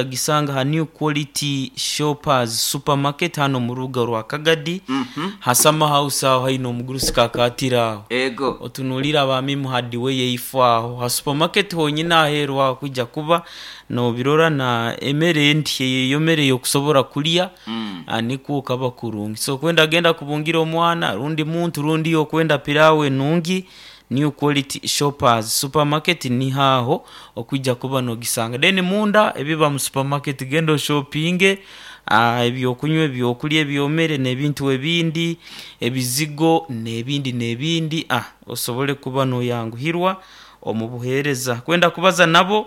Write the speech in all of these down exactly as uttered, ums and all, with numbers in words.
Yagisanga ha New Quality Shoppers Supermarket hano mu rubuga rwa Kagadi. Mhm. Hasama House aho haine omugurusi kakatira aho. Ego. Otunuulire abaami muhadi we yeifo aho ha supermarket honyine aheeru aho kwija kuba nobirora na emere endi eyo mere yokusobora kulya. Mm. Ah, nikwo kaba kurungi. So kwenda genda kubungira omwana rundi muntu rundi okwenda pilawo enungi, New Quality Shoppers Supermarket nihaho okwija kuba nogisanga. Then munda ebiba mu supermarket, genda oshopinge ah, ebyokunywa, ebyokulya, ebyomere n'ebintu ebindi, ebizigo n'ebindi n'ebindi, ah, osobole kuba noyanguhirwa omu buheereza. Kwenda kubaza nabo,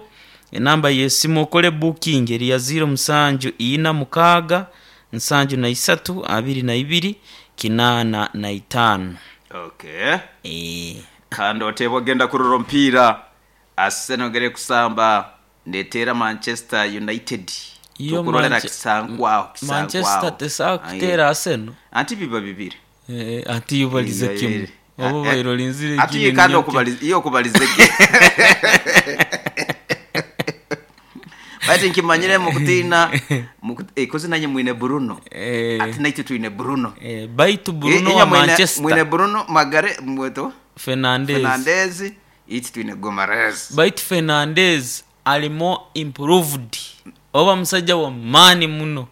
enamba y'esimu okole booking eri ya ziro musanju ina mukaaga nsanju na isatu abiri na ibiri kinaana na itaano. Okay. Eh. Kandi oteba ogenda kurora omupiira, Arsenal gere kusamba neteera Manchester United. Iyo tukurolera Manche- kisankwaho. Manchester Kisankwaho tesobola kuteera Arsenal. Anti biba bibiri. Eh, ati yubalize Biba kimu bibiri. oba Eh, bairolinzire. Ati ye kandi okubaliza, iyo okubalize ki bati nkimanyire mukutiina muku- eh, kozi nanye mwine Bruno. Eh. Ati naitwe twine Bruno. Eh, baitu Bruno Eh, wa inya mwine- mwine Manchester Bruno Magare mweto Fernandes. Fernandez, iti twine Gomares. Baitu Fernandes alimo improved, oba musajja wa maani muno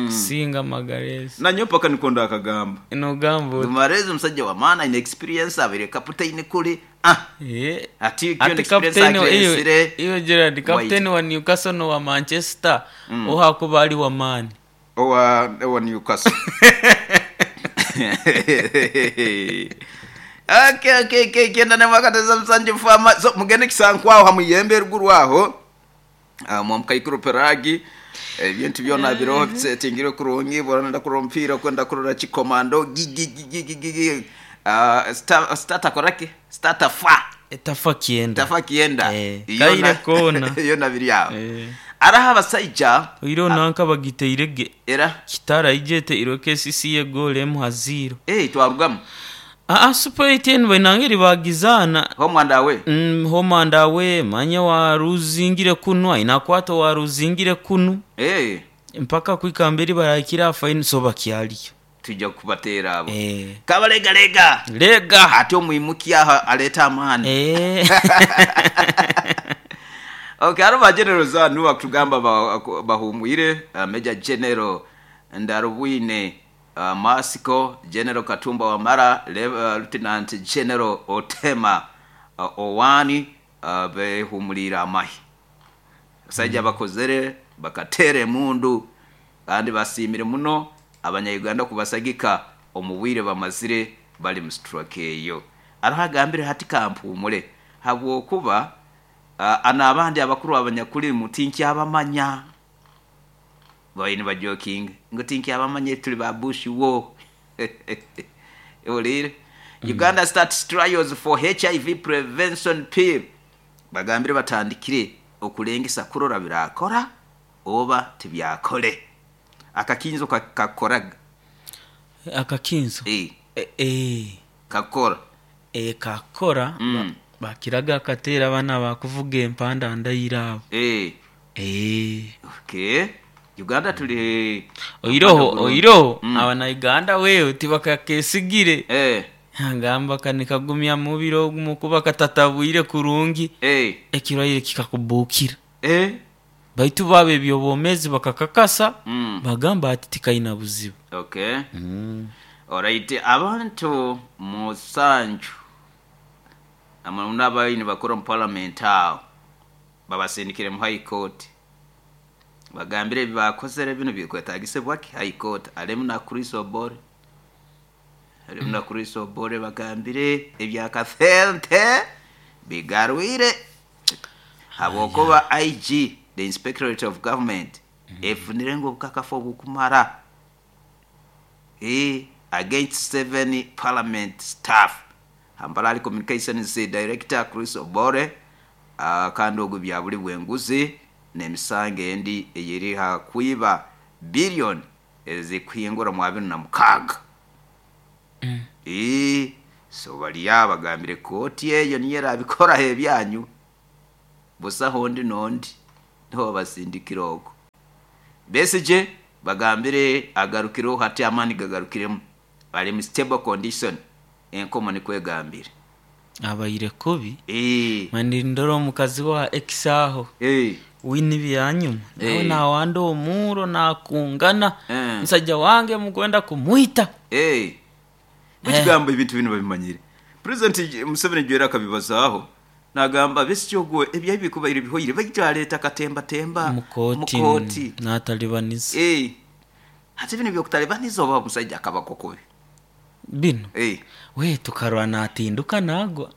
kusinga Magalhaes. Nanyo paka nikonda akagamba. Nogamba oti Gomares omusajja wa maani, aine experience, abire kaputaini kuli, ah. Eh, ati kyo ati experience kapteni wa- iyo akiresire. iyo Gerard, kapteni wa Newcastle no wa Manchester ohakuba ali wa maani. Owa owa Newcastle. okay okay okay kenda ne mwakateza msanje fama so mugende kisankwaho hamuyembe ruguru aho. uh, mwamukaikuru peragi ebintu byona biroho bisetingire kurungi borana kurora mpira kwenda kurora chikomando gigigigigigi. uh, star starter korake starter fa Etafa kienda. tafa kienda. Eh, Iyo kaire na- kona. iyo nabiri aho. Eh. Araho abasaija. Oiro nanka bagiteirege era kitara ijete iro K C C ye goal emu ha zero. Eh, twarugamu. Aa, Super eighteen bainangeri bagizana. Homwanda we. mm, homanda we manya waruzingire kunu ainakwata waruzingire kunu. Eh. Mpaka kwikamberi barakira faini, so bakyaliyo. Tujja kubateera abo. Eh. Kabalegalega. Lega. Ate omwimuki aho aleeta amaani. Eh. Okay, hariho ba generals hanu bakutugamba ba- bahumwire, uh, Major General Ndarubwine, uh, Masiko General Katumba Wamara, Le- uh, Lieutenant General Otema uh, Owani, uh, behumulire amahi. Basajja bakozere bakateera emundu kandi basiimire muno abanyayuganda kubasagika omu bwire bamazire bali mu strike eyo. Ariho agambire hati kampumule habwokuba uh, ana abandi abakuru abanyakuli mutinkyabamanya baine bajoking ngu tinkyabamanya tuli ba bush wo olire. Uganda starts trials for H I V prevention pill. Bagambire batandikire okulengesa kurora birakora oba tibyakole akakinzo ka- kakoraga. Akakinzo. Eh. Eh, eh. Kakora. Eh, kakora. Mm. Ba- bakiraga akateera abaana bakuvuga empanda ndayira abo. Eh. Eh. Okay, Uganda tuli Oiroho oiroho. Mm. Abanauganda wewe tibakakesigire. Eh. Agamba kanikagumya mubiri ogumu kuba katatabwire kurungi, eh ekirwaire kikakubukira. Eh. Baitu baba ebyobwomezi bakakakasa, Mm. bagamba ati tikaina buzibu. Okay, alright, abantu musanju amuna abaini bakora mu parliament awo babasindikire mu High Court, bagambire ebi bakozere bino bikwetagisibwaki High Court. Alemu na Chris Obore, alemu na Chris Obore, bagambire ebyakathente bigarwire habwokuba I G, the Inspectorate of Government, efunire ngu obukakafu obukumara eh, against seven parliament staff. Hambalali communications director Chris Obore, uh, kandi ogwo bya buli bwenguzi n'emisango endi eyeri ha kwiba billion ezikuhingura mu abiri na mukaaga. Eh, so baliya bagambire kooti eyo niyo erabikoraho ebyanyu busaho ndi nondi niho basindikira okwo. Besigye bagambire agarukireho hati amaani gagarukiremu ali mu stable condition enkomo nikwegambire. Abaire kubi. Eh. Mani ndora omukazi wa ex aho. Eh. Wini byanyuma nawe Eh. nawanda omuro nakungana. Eh. Musajja wange mukwenda kumwita. Eh. Ekigambo ebintu bino babimanyire. President Museveni jwera akabibazaaho nagamba Besigye ogwo ebyayi bikubaire bihoire baitwaleta katemba temba mukoti mukoti. Natalibaniza. Eh. Hati bino byokutalibaniza oba omusajja akabako kubi. Bino. Eh. We tukarwa natinduka nagwa.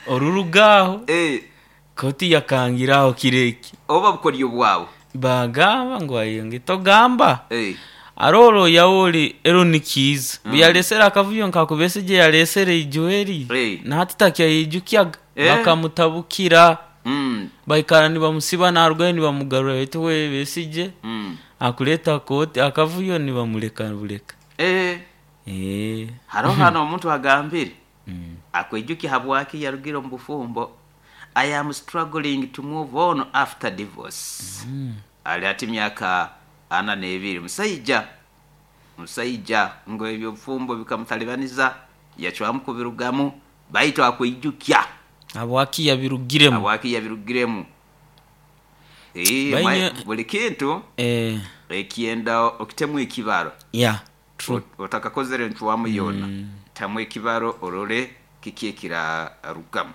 Orurugaho. Eh. Koti yakangiraho kireki. Oba bukoryo bwawe. Bagamba ngo ayonge togamba. Eh. Aroro yaoli ero nikiza. Mm. Yalesera akavuyo nkakubesije yalesere ijoeri. Hey. Na hatitakia yijukyaga. Eh. Bakamutabugira. Mm. Baikara nibamusiba narugayo nibamugarura betu we Besije. Mm. Akuleta koti akavuyo nibamuleka buleka. Eh. Eh. Haro hano omuntu agambire. Mm. Akwejuki habwaki yarugira mu bufumbo. I am struggling to move on after divorce. Mm. Ali ati myaka ana n'ebiri musajja musajja ngo ebyobufumbo bikamutalibaniza yacwamu kubirugamu baitu akwijukya habwaki yabirugiremu habwaki yabirugiremu. Eh, Baine- buli kintu eh ekienda okitemu ekibaro. Yeah, true. Otakakozere ncwamu yona tamu ekibaro orole kiki ekirarugamu.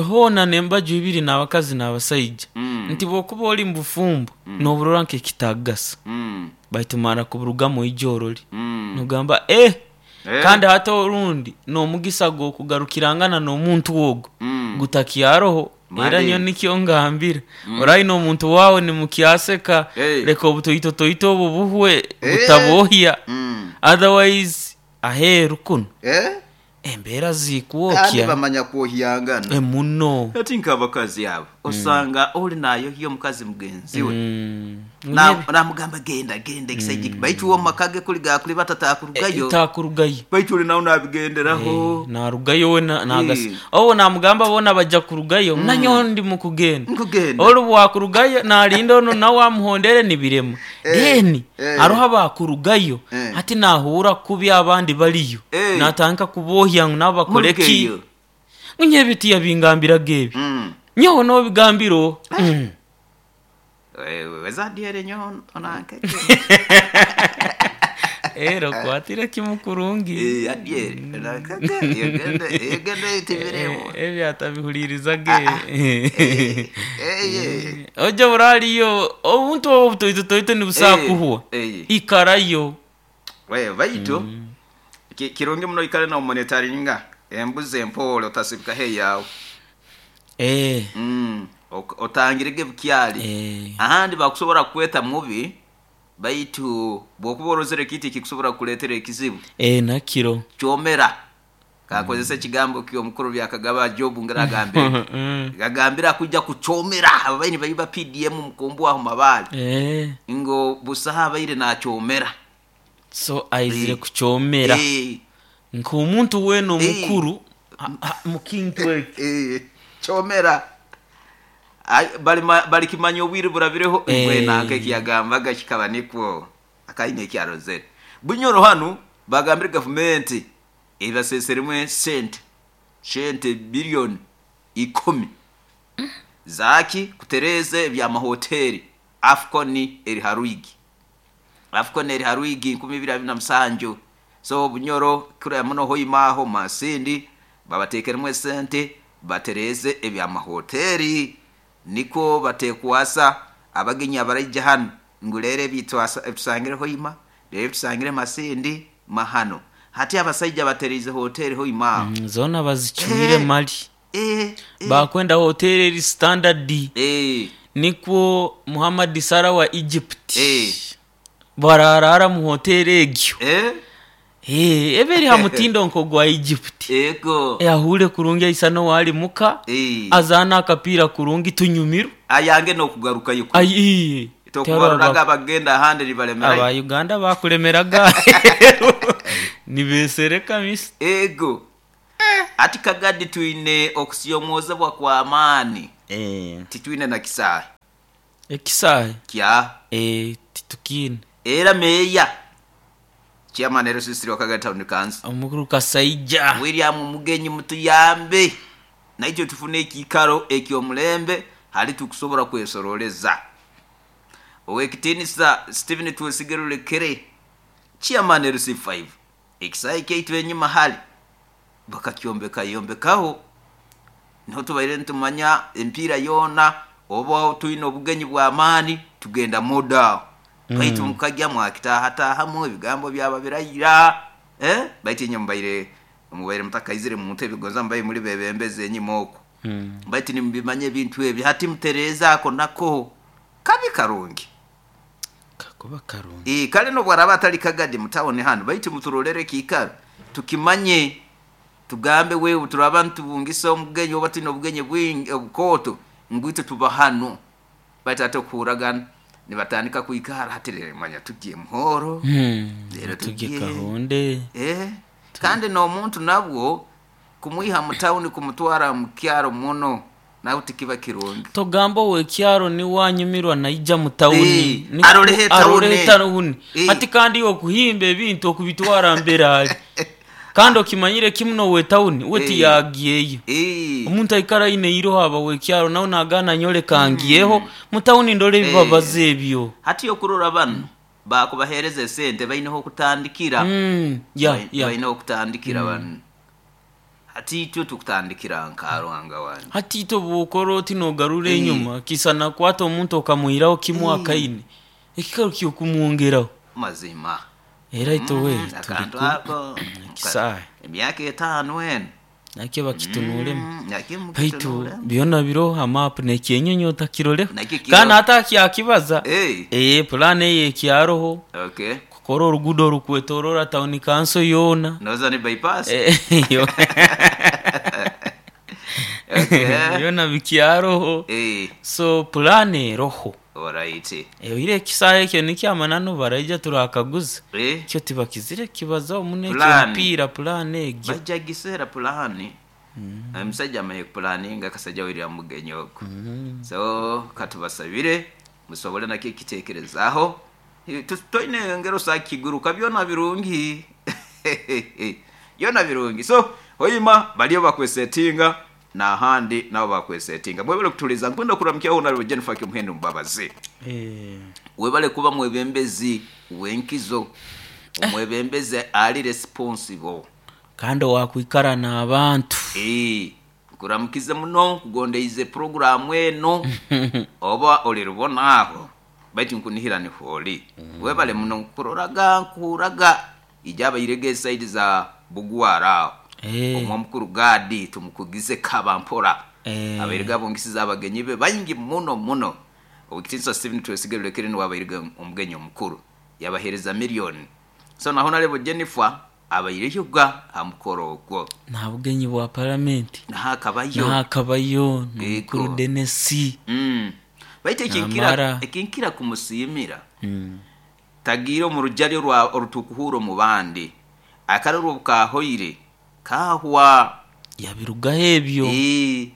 Hona nembaju ibiri n'abakazi n'abasajja. Mm. Nti bwokuba oli mu bufumbo n'oburora nk'ekitagasa. Mm. Baitumara kuburugamu ijoroli. Mm. Nugamba eh Eh. kandi hata orundi n'omugisa gw'okugarukirangana n'omuntu wogo Mm. gutakyaroho. Mali. Era nyo nikyo ngambira. Orayi n'omuntu wawe nimukyaseka. Hey. Leka obutoito toito obu buhwe Eh. butabohya. Mm. Otherwise aheeru kuno Eh? embeera Kandi zikuwokya bamanya kwohyangana. emuno. Ati nk'abakazi abo osanga oli nayohya omukazi mugenzi we. Mm. Na- namugamba genda genda ekisajja mm. Baitu uwo maka ge kuli gakuli batatakurugayo. Takurugayo. Baitu oli nawe nabigenderaho. Narugayo we na- nagasa. Eh. Owo namugamba bona bajja kurugayo nanyo ndi mukugenda. Nkugenda. Olu bwakurugayo nalinda ono nawe amuhondere nibirema. Then Eh. aroho abakurugayo Eh. hati nahura kubi abandi baliyo. Eh. Natandika kubohya ngu nabo bakore ki. Murugeyo. Ngunye ebiti yabingambiraga ebi. Mm. Nyowe nobigambiro. Mm. Eh, wezadiere nyo onankeke. Ero kwatire kimukurungi. Eh, adiere onankeke yegende yegende tibiremo. Ebyo atabihulirizaga. Eh, eh. Oja buraliyo obuntu obu butoito toito nibusakuhwa. Eh, eh. Ikarayo. We baitu ki- kirungi muno ikale na monitoringa embuzi empole otasibika heyawe. Eh. Mm. ok- Otangirege bukyali. Eh. Ahandi bakusobola kukweta mubi baitu bwokuba orozere kiti kikusobola kukuleetera ekizibu Eh nakiro. kyomera kakozesa ekigambo ky'omukuru byakagaba Jobu ngaragambire Mm. gagambira kujja kukyomera ababaini baiba P D M mukumbu aho mabaale Eh. ngo busaha abaire nakyomera. So aizire Eh. kukyomera. Eh. Nk'omuntu wena Eh. omukuru mukintu eki. Eh, kyomera. Ai, bali bali kimanya obwire burabireho Eh. bwe nanka ekiyagambaga kikaba nikwo akaine ekyarozere. Bunyoro hanu bagambire gavumenti ebaseseremwe sente sente billion ikumi zaki kutereze ebyamahoteli Afcon eri haruigi Afcon eri haruigi nkumi bibiri abiri na musanju. So Bunyoro kuri muno hoimaho Masindi babatekeremwe sente batereze ebyamahoteli niko batekwasa abagenyi abarajja hano ngulere bitwasa tusangire hoima rero tusangire Masindi mahano hati abasajja baterize hoteli hoima. Mm, zona bazichwire Eh. mali. Eh, eh. Bakwenda hoteli eri standard. Eh. Nikwo Muhammad Salah wa Egypt. Eh. Bararara mu hoteli egyo. Eh. Eh, eberi ha mutindo nko gwa Egypt. Ego. Eh, ahure kurungi aisano wali muka. Eh. Azana akapira kurungi tunyumiru. Ayange no kugaruka yuko. Ayi. Tokubaruraga bagenda ahandi ribalemera. Aba Uganda bakulemeraga. Nibesereka misi. Ego. Ati kagadi twine okusiyomwoza bwa kwa amani. Eh. Titwine na kisahe. Ekisahe Kya eh titukine. Era meya chairman L C three wa Town Council omukuru Kasaija William Mugenyi, mutuyambe naitwe tufune ekikaro ekyomulembe hali tukusobola kwesoroleza. Owekitinisa Stephen Twesigerulekere chairman L C five, ekisahe kyaitu enyuma hali bakakyombeka yombekaho niho tubaire ntumanya empiira yoona oba tuyina obugenyi bw'amaani tugenda muda mm. Baitu mukajja mwakitaahatahamu ebigambo byaba birayira eh? Baitu inye mubaire mubaire mutakaizire mu ntebe gonza mubaire muri bebembeze enyuma okwo mm. Baitu nimubimanye ebintu ebyo hati mutereeza ako nako kabi karungi kakuba karungi e, kale nobwaraba atali kagadi mutawuni hano baitu muturolere kiikaro tukimanye tugambe wewe turaba ntubungisa omugenyi oba tulina obugenyi bwingi obukooto ngwite tuba hano baitu ate okuhuragana nibatandika kwikara hati rero manya tugiye muhoro hmm. Rero tugiye tugiye. Kahonde eh kandi n'omuntu nabwo kumwiha mu tawuni kumutwara mu kyaro muno nawe tikiba kirungi. Togamba owekyaro niwanyumirwa naija mu tawuni. Eh, arolehe tawuni. Arolehe tawuni. Eh. Ati kandi okuhimba ebintu okubitwara mbere ali kandi okimanyire kimu nowe tawuni we Eh. tiyagiyeyo. Eh, Omuntu aikara aine iroho aba wekyaro nawe nagana nyole kangiyeho mu tawuni ndole ebibabaza ebyo. Hati okurora bano bakubahereza esente baineho okutandikira. Mm, ya Bai- ya baineho okutandikira bano hati itwe tukutandikira nkaruhanga wange. Hati ito bwokora oti nogarura Eh. enyuma kisa nakwata omuntu okamuhiraho kimwe akaine ekikaro kyokumwongeraho Mazima era ito we Mm, akantu turi ako ekisahe emyaka etaano eno nakyo bakitunulemu. Mm, nakyo Baitu mukitunulemu. byona biroho amapu nekyenyonyi otakiroleho Nakyo kiro- kandi ate akyakibaza Eh, ee pulani eyo ekyaroho okay kukora orugudo orukwetorora tawuni kanso yoona. Noza ni bypass. Eh, yo- Okay. yoona bikyaroho. Eh, So pulani eroho. alright. Oire ekisaha ekyo nikyamananu baraija turakaguza Eh, kyo tibakizire kibaza omuno ekyo Pulani. omupiira pulani egyo. Bajja gisera pulani. Omusajja amanyi kupulaninga kasajja William Mugenyi ogwo. So katubasabire musobole nakyo ekiteekerezaaho. Eh, tu- toine ngero sakiguruka byona birungi byona birungi. So hoima baliyo bakwesetinga n'ahandi nabo bakwesetinga mwebale kutuliza nkwenda kuramukyaho naliwe Jennifer Kimuhendo Mbabazi. Eh, Webale kuba mwebembezi wenkizo omwebembezi ali responsible. Kandi owakwikara n'abantu. Eh, nkuramukize muno nkugondeize programu eno oba olirubona aho baitu nkunihira niholi webale muno nkuroraga nkuhuraga ijaba irege saidi za bugwara aho. Eh, Omwo mukuru gadi tumukugize kabampora. Eh. Abairiga abongisiza abagenyi be baingi muno muno. Owekitinisa Stephen Twesigerulekere niwe abairiga omugenyi omukuru yabahereza miliyoni. So naho narebo Jennifer abaireyoga ha mukoro ogwo nta bugenyi bwa paramenti naho akabayo. Nakabayo nomukuru Yego. Denesi. Mm. Baitu ekinkira Namara. ekinkira kumusiimira Mm. tagiire omu rujaryo rwa orutukuhura omu bandi akarorwa obukahoire kahwa. Yabirugaho ebyo. Eh,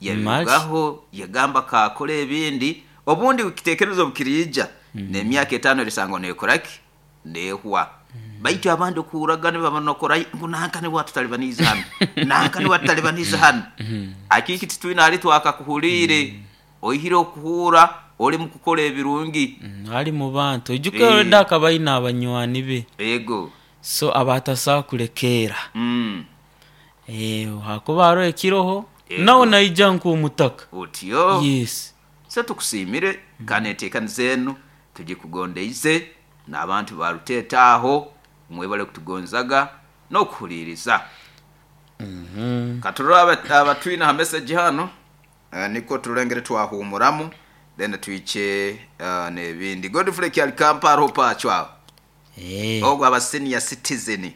yabirugaho yagamba kakora ebindi obundi kitekerezo bukiriija n'emyaka etaano erisango nekoraki nehwa. Baitu abandi okuhuraga nibaba nokora ngu nanka niwe atutalibaniiza hanu nanka niwe atutalibaniiza hanu akiki titwine hali twakakuhuriire oihire okuhuura oli mu kukora ebirungi. Mm, ali mu bantu ijuka Eh. already akaba aine abanywani be. Ego. So abatasobola kulekeera. Mm. Eh, hakuba hariho ekiroho Yego. nawe naija nk'omutaka. Otyo. Yes. So tukusiimire kandi enteekaniza enu tugikugondeize n'abantu baruteeta aho mwebale kutugonzaga n'okuhuliiriza. Katurore aba- abatwine ha message hano eh, niko turengere twahumuramu then twiche uh, n'ebindi. Godfrey Kyalikamparo pacwaho Eh, ogwo aba senior citizen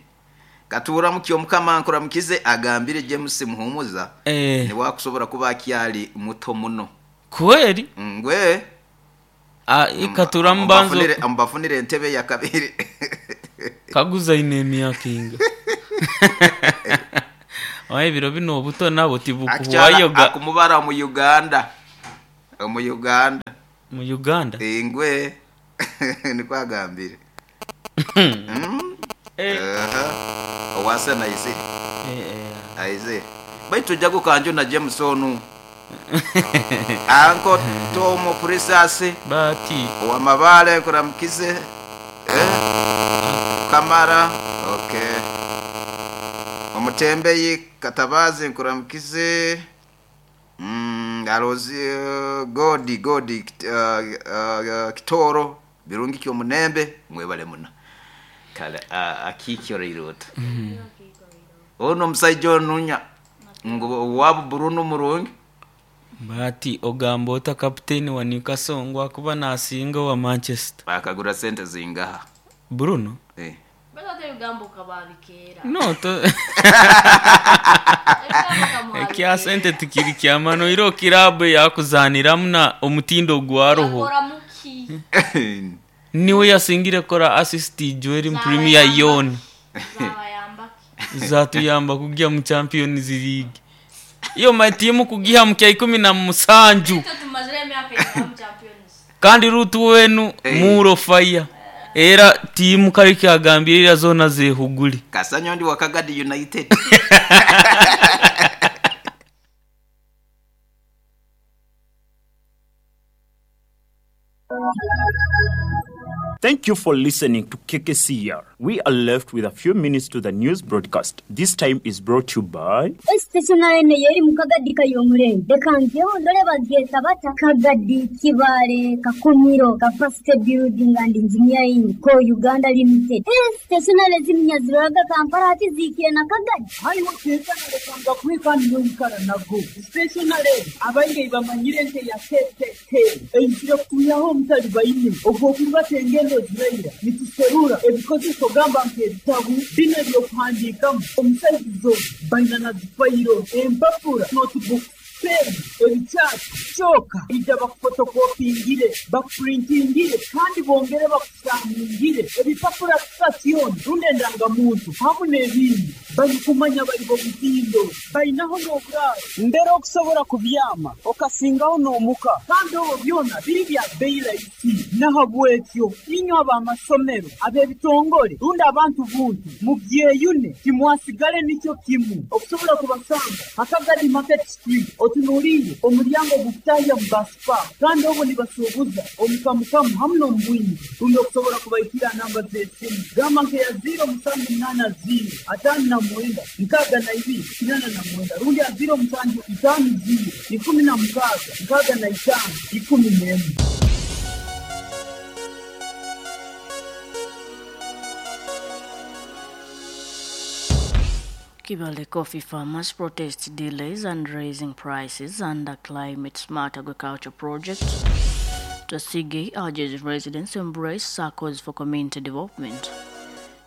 katuramukye omukama nkuramukize agambire James Muhumuza Eh. niwakusobora kuba akyali muto muno. Kweri Ngwe Ah, ikaturamubanzo Mbafunire- mbafunire entebe ya kabiri. Kaguza ine emyaka inga oye ebiro bino obuto nabo Akikyala tibukuhwayoga. akumubara mu Uganda omu Uganda. Mu Uganda. Ingwe niko agambire. Mm. Eh. Aha. Owasa na ise. Eh, eh. Aize. Baitu jago kanjo na James onu. Anko Tomo Prisasi Bati wa Mabale kuramkize. Eh? Kamara. Okay. Omutembeyi Katabazi nkuramkize. Mm, alozi uh, Godi Godi uh, uh, Kitoro birungi kyo munembe mwebale muna. Kale uh, akikyo rirota. Mm. Ono musaijo nunya ngo wabu Bruno murungi. Bati ogamba ota kapiteni wa Newcastle ngo akuba nasinga wa Manchester. Bakagura sente zingaha. Bruno? Eh. No to ekya sente tikiri kyamano iro kirabu yakuzaniramu na omutindo gwa roho. Niwe yasingire kora assist Joel Premier yon. Zatuyamba kujya mu Champions League. Iyo my team kugiha mu kya ikumi na musanju. Kandi rutu wenu hey. Muro fire. Era timu kali kyagambirira zona zehuguli. Kasanyo ndi wakagadi United. Thank you for listening to K K C R. We are left with a few minutes to the news broadcast. This time is brought to you by Stationary yeri mukagadi kayomure. Dekangyo ndole bageta bata Kagadi Kibare Kakumiro Capacity Building and Engineering Co Uganda Limited. Stationary zimnyaziraga Kampala ati zikiye na Kagadi. Hayo keza ndekanga kwika ndikara nago. Stationary abainge bamanyire nte ya K K K. Einjira kuyaho mutali bayine. Ogwo tengendo ziraira nituserura ebikozeso gamba nk'ebitabu bino ebyokuhandiikamu omusaizo baina na zifayiro empapura notebook pen ebikyapa kyoka ija bakufotokopingire bakupurintingire kandi bongere bakusamungire ebipapura sitasioni rundi endangamuntu hamu n'ebindi balikumanya bali bomutindo bainaho n'oburaaro mbere okusobola kubyama okasingaho n'omuka kandi obwo byona biri bya bbeeyi rahisi nahabwekyo inywe ab'amasomero ab'ebitongole rundi abantu buntu mubyeyune timwasigale nikyo kimu okusobola kubasanga Hakagadi Market Street otunuulire omulyango gukutahya mu basipa kandi obwo nibasuubuza omukamukamu hamu n'omubwingi rundi okusobola kubaikira namba z'esimu gamba nkeya ziro musanju munaana ziro ataano na mwenda nkaaga na ibiri kinana na mwenda rundi ya ziro musanju itaano ziro ikumi na mukaaga nkaaga na itaano ikumi n'emwe. Kibale coffee farmers protest delays and raising prices under Climate Smart Agriculture Project. Twesige urges residents to embrace SACCOs for community development.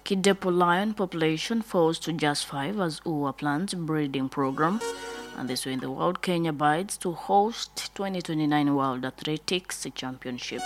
Kidepo lion population falls to just five as U A plans breeding program. And this way in the world, Kenya bids to host twenty twenty-nine World Athletics Championship.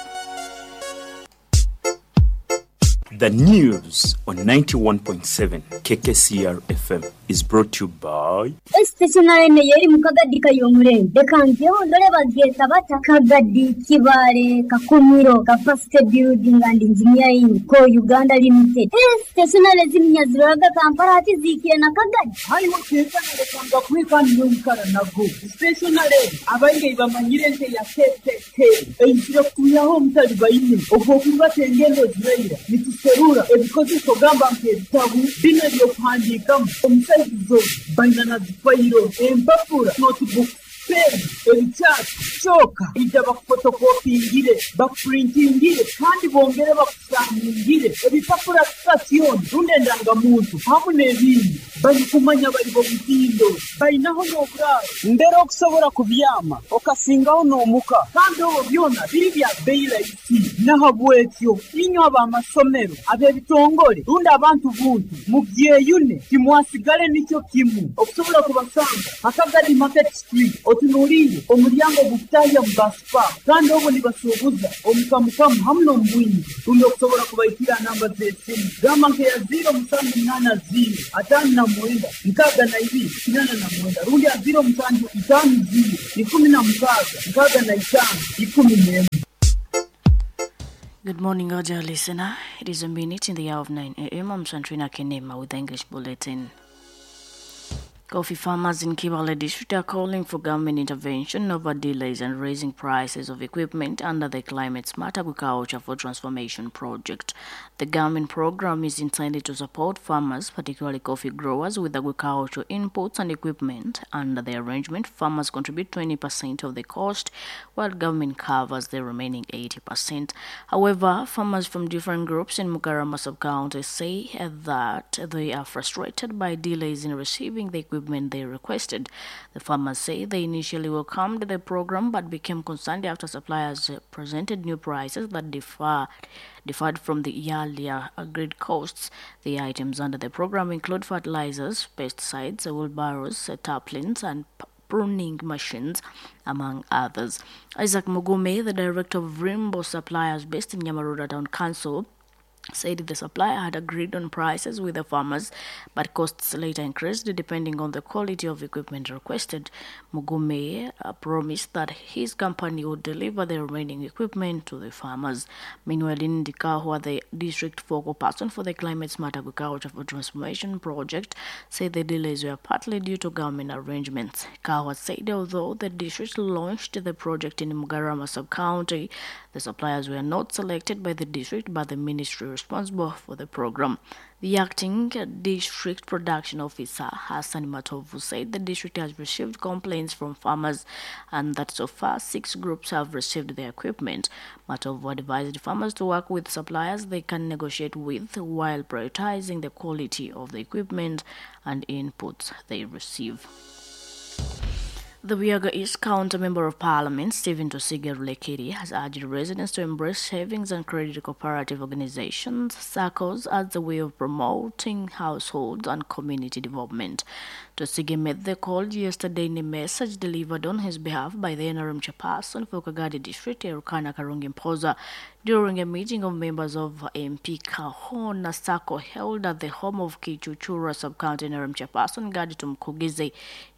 The news on ninety-one point seven K K C R F M is brought to you by Stationary yeri mukagadi kayomure. Dekangyo ndole bageta bata Kagadi Kibare Kakumiro Capacity Building and Engineering Co Uganda Limited. Stationary zimnyaziraga Kampala ati zikiye na Kagadi. Hayo keza ndekanga kwika ndikara nago. Stationary abainge bamanyire nte ya K K K. Einjira kuyaho mutali bayine. Ogwo kuba tengendo ziraira nituserura ebikozeso gamba nk'ebitabu bino ebyokuhandiikamu omusaizo baina na zifayiro empapura notebook pen ebikyapa kyoka ija bakufotokopingire bakupurintingire kandi bongere bakusamungire ebipapura sitasioni rundi endangamuntu hamu n'ebindi balikumanya bali bomutindo bainaho n'oburaaro mbere okusobola kubyama okasingaho n'omuka kandi obwo byona biri bya bbeeyi rahisi nahabwekyo inywe ab'amasomero ab'ebitongole rundi abantu buntu mubyeyune timwasigale nikyo kimu okusobola kubasanga Hakagadi Market Street otunuulire omulyango gukutahya mu basipa kandi obwo nibasuubuza omukamukamu hamu n'omubwingi rundi okusobola kubaikira namba z'esimu gamba nkeya ziro musanju munaana ziro ataano na mwenda nkaaga na ibiri kinana na mwenda rundi ya ziro musanju itaano ziro ikumi na mukaaga nkaaga na itaano ikumi n'emwe. Good morning, our dear listener. It is a minute in the hour of nine a m. I'm Santrina Kenema with the English Bulletin. Coffee farmers in Kibaale district are calling for government intervention over delays and raising prices of equipment under the Climate Smart Agriculture for Transformation project. The government program is intended to support farmers, particularly coffee growers, with agricultural inputs and equipment. Under the arrangement, farmers contribute twenty percent of the cost, while government covers the remaining eighty percent. However, farmers from different groups in Mukarama sub-county say that they are frustrated by delays in receiving the equipment they requested. The farmers say they initially welcomed the program but became concerned after suppliers presented new prices that differ, differed from the earlier agreed costs. The items under the program include fertilizers, pesticides, wheelbarrows, tarpaulins, and pruning machines, among others. Isaac Mugume, the director of Rainbow Suppliers based in Nyamaroda Town Council, said the supplier had agreed on prices with the farmers, but costs later increased depending on the quality of equipment requested. Mugume uh, promised that his company would deliver the remaining equipment to the farmers. Meanwhile, in Ndikahua, the district focal person for the Climate Smart Agriculture for Transformation project, said the delays were partly due to government arrangements. Kahwa said although the district launched the project in Mugarama sub-county, the suppliers were not selected by the district but the ministry responsible for the program. The acting district production officer, Hassan Matovu, said the district has received complaints from farmers and that so far six groups have received their equipment. Matovu advised farmers to work with suppliers they can negotiate with while prioritizing the quality of the equipment and inputs they receive. The Buyaga East County Member of Parliament, Stephen Twesige Rulekiri, has urged residents to embrace savings and credit cooperative organizations, SACCOs, as a way of promoting households and community development. Twesige made the call yesterday in a message delivered on his behalf by the N R M chairperson for Kagadi District, Erukana Karungi Mpoza, during a meeting of members of M P Kahona SACCO held at the home of Kichuchura Sub-County N R M chairperson Gadi Tumkugize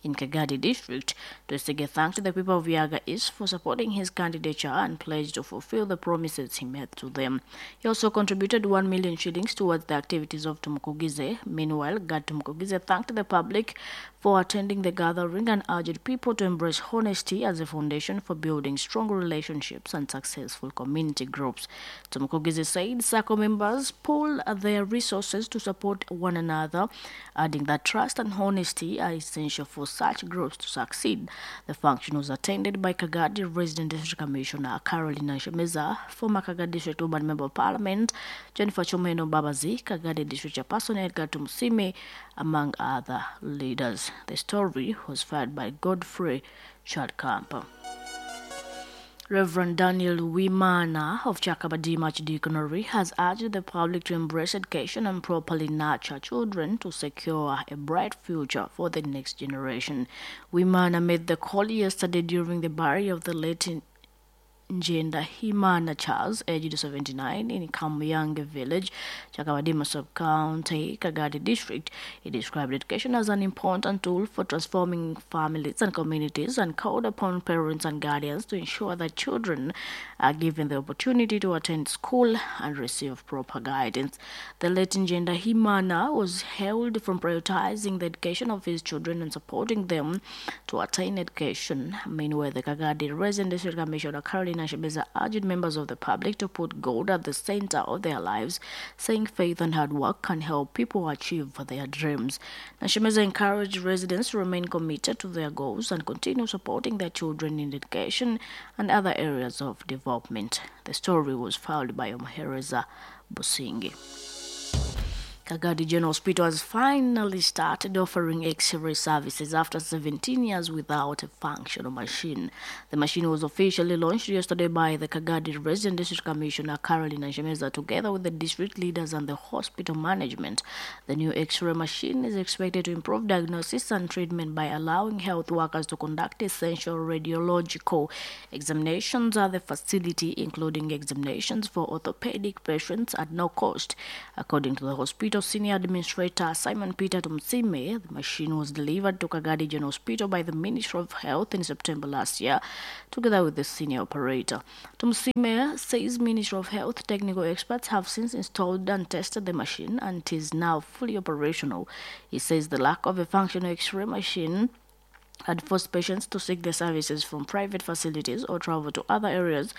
in Kagadi District. Twesige thanked the people of Buyaga East for supporting his candidature and pledged to fulfill the promises he made to them. He also contributed one million shillings towards the activities of Tumkugize. Meanwhile, Gad Tumkugize thanked the public for attending the gathering and urged people to embrace honesty as a foundation for building strong relationships and successful community groups. Tumkugize said SACCO members pool their resources to support one another, adding that trust and honesty are essential for such groups to succeed. The function was attended by Kagadi Resident District Commissioner Carolina Shemeza, former Kagadi District Urban Member of Parliament Jennifer Chomeno Babazi, Kagadi District Chairperson Edgar Tumsime, among other leaders. The story was filed by Godfrey Chadkamp. Reverend Daniel Wimana of Chakabadima Archdeaconry has urged the public to embrace education and properly nurture children to secure a bright future for the next generation. Wimana made the call yesterday during the burial of the late Njenda Himana Charles, aged seventy-nine, in Kamyange village, Chakabadima sub-county, Kagadi district. He described education as an important tool for transforming families and communities and called upon parents and guardians to ensure that children are given the opportunity to attend school and receive proper guidance. The late Njenda Himana was hailed for prioritizing the education of his children and supporting them to attain education. Meanwhile, the Kagadi Resident District Commissioner Carolina Shebeza urged members of the public to put God at the center of their lives, saying faith and hard work can help people achieve their dreams. Nashemeza encouraged residents to remain committed to their goals and continue supporting their children in education and other areas of development. The story was filed by Omhereza Busingi. Kagadi General Hospital has finally started offering X-ray services after seventeen years without a functional machine. The machine was officially launched yesterday by the Kagadi Resident District Commissioner Carolina Shemeza together with the district leaders and the hospital management. The new X-ray machine is expected to improve diagnosis and treatment by allowing health workers to conduct essential radiological examinations at the facility, including examinations for orthopedic patients at no cost. According to the hospital Senior Administrator Simon Peter Tumsime, the machine was delivered to Kagadi General Hospital by the Ministry of Health in September last year, together with the senior operator. Tumsime says Ministry of Health technical experts have since installed and tested the machine and it is now fully operational. He says the lack of a functional X-ray machine had forced patients to seek their services from private facilities or travel to other areas,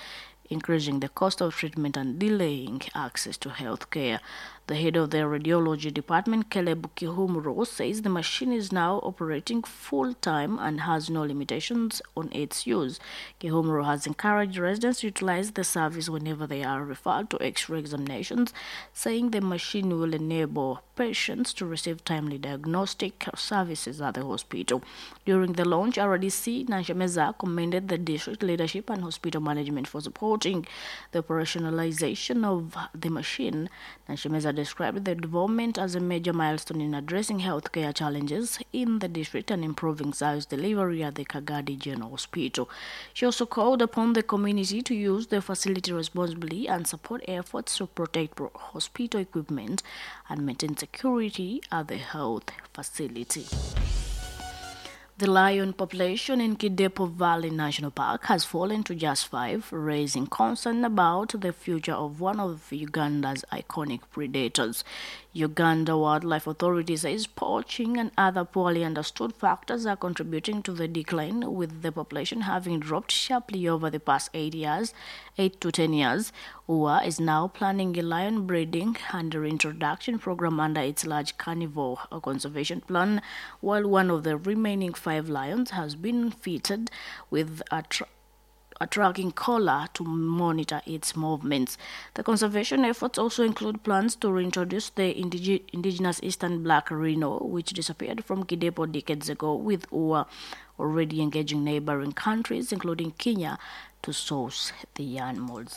increasing the cost of treatment and delaying access to health care. The head of the radiology department, Caleb Kihumuro, says the machine is now operating full-time and has no limitations on its use. Kihumuro has encouraged residents to utilize the service whenever they are referred to X-ray examinations, saying the machine will enable patients to receive timely diagnostic services at the hospital. During the launch, R D C Nanshameza commended the district leadership and hospital management for supporting the operationalization of the machine. Nanshameza described the development as a major milestone in addressing healthcare challenges in the district and improving service delivery at the Kagadi General Hospital. She also called upon the community to use the facility responsibly and support efforts to protect hospital equipment and maintain security at the health facility. The lion population in Kidepo Valley National Park has fallen to just five, raising concern about the future of one of Uganda's iconic predators. Uganda Wildlife Authority says poaching and other poorly understood factors are contributing to the decline, with the population having dropped sharply over the past eight years, eight to ten years. U A is now planning a lion breeding and reintroduction program under its large carnivore conservation plan, while one of the remaining five lions has been fitted with a tra- a tracking collar to monitor its movements. The conservation efforts also include plans to reintroduce the indig- indigenous eastern black rhino, which disappeared from Kidepo decades ago, with U A already engaging neighboring countries, including Kenya, to source the animals.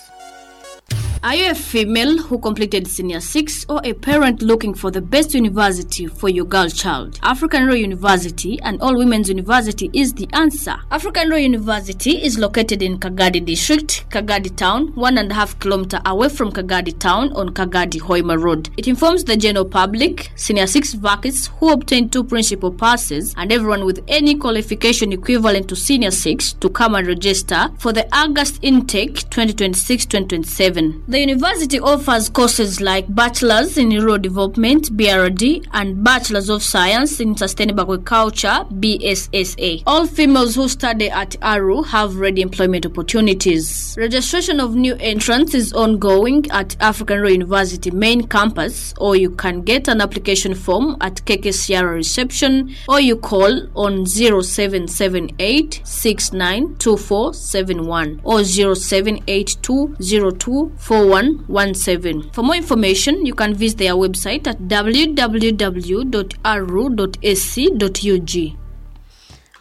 Are you a female who completed Senior six or a parent looking for the best university for your girl child? African Royal University and All Women's University is the answer. African Royal University is located in Kagadi District, Kagadi Town, one and a half kilometer away from Kagadi Town on Kagadi Hoima Road. It informs the general public, Senior six vacancies who obtained two principal passes, and everyone with any qualification equivalent to Senior six to come and register for the August intake twenty twenty-six twenty twenty-seven. The university offers courses like Bachelor's in Rural Development, B R D, and Bachelor's of Science in Sustainable Agriculture, B S S A. All females who study at A R U have ready employment opportunities. Registration of new entrants is ongoing at African Royal University main campus, or you can get an application form at K K C R reception, or you call on zero seven seven eight six nine two four seven one or zero seven eight two zero two four one one seven. For more information, you can visit their website at w w w dot a r u dot a c dot u g.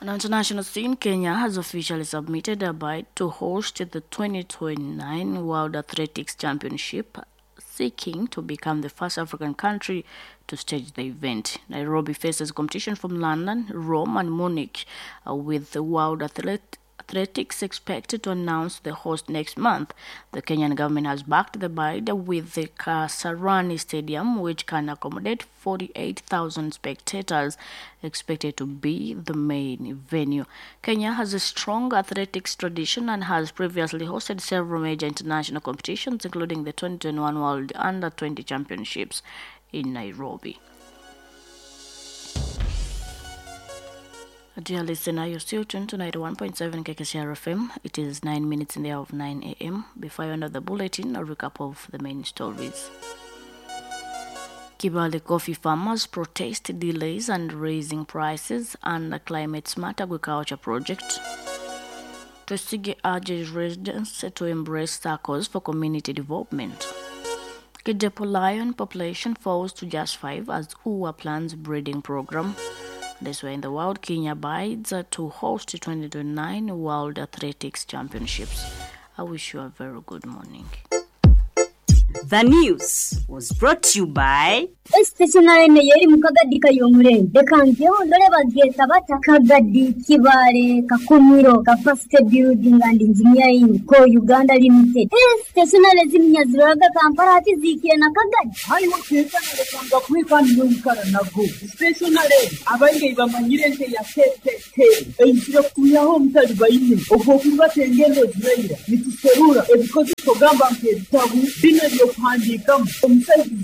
On international scene, Kenya has officially submitted a bid to host the twenty twenty-nine World Athletics Championship, seeking to become the first African country to stage the event. Nairobi faces competition from London, Rome and Munich, uh, with the World Athlet- Athletics expected to announce the host next month. The Kenyan government has backed the bid with the Kasarani Stadium, which can accommodate forty-eight thousand spectators, expected to be the main venue. Kenya has a strong athletics tradition and has previously hosted several major international competitions, including the twenty twenty-one World Under twenty Championships in Nairobi. Dear listener, you're still tuned to ninety-one point seven K K C R F M. It is nine minutes in the hour of nine A M. Before I end the bulletin, a recap of the main stories. Kibale coffee farmers protest delays and raising prices and the Climate Smart Agriculture Project. Twesige urges residents to embrace SACCOs for community development. Kidepo lion population falls to just five as U A plans breeding program. This way in the world, Kenya bides to host the twenty twenty-nine World Athletics Championships. I wish you a very good morning. The news was brought to you by Stationery yeri mu kagadi kayomurembe reka ngeho ndore bagyeta bata Kagadi, Kibale, Kakumiro, Capacity Building and Engineering Co Uganda Limited. Stationery z'iminyaziraga Kampala hati zikire na Kagadi. Haiwe kekanalekanga kwikani noikara nago stationary abaingi bamanyire nte ya K K K eizire kutuyaho omutali baine ogwokulibata engendo ziraira nituserura ebikozeso gamba nk'ebitabu bino ebyokuhandiikamu omusaizi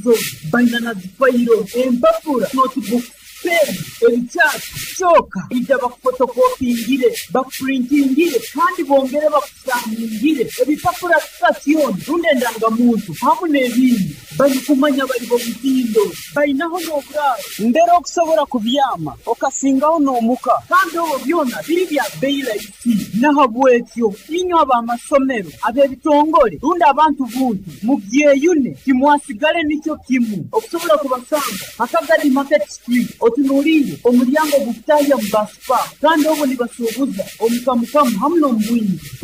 baina na zifayiro, empapura, notebook, pen, ebikyasi kyoka ija bakufotokopingire, bakupurintingire kandi bongere bakusaningire ebipapura sitasioni rundi endangamuntu hamu n'ebindi. Balikumanya bali bomutindo balinaho n'oburaaro mbere okusobola kubyama okasingaho n'omuka kandi obwo byona biri bya bei rahisi. Nahabwekyo inywe ab'amasomero, ab'ebitongole rundi abantu buntu mubyeyune timwasigale nikyo kimu okusobola kubasanga Akagadi Market Street otunuliire omulyango gukutahya mu basipa kandi obwo nibasuubuza omukamukamu hamu n'omubwingi.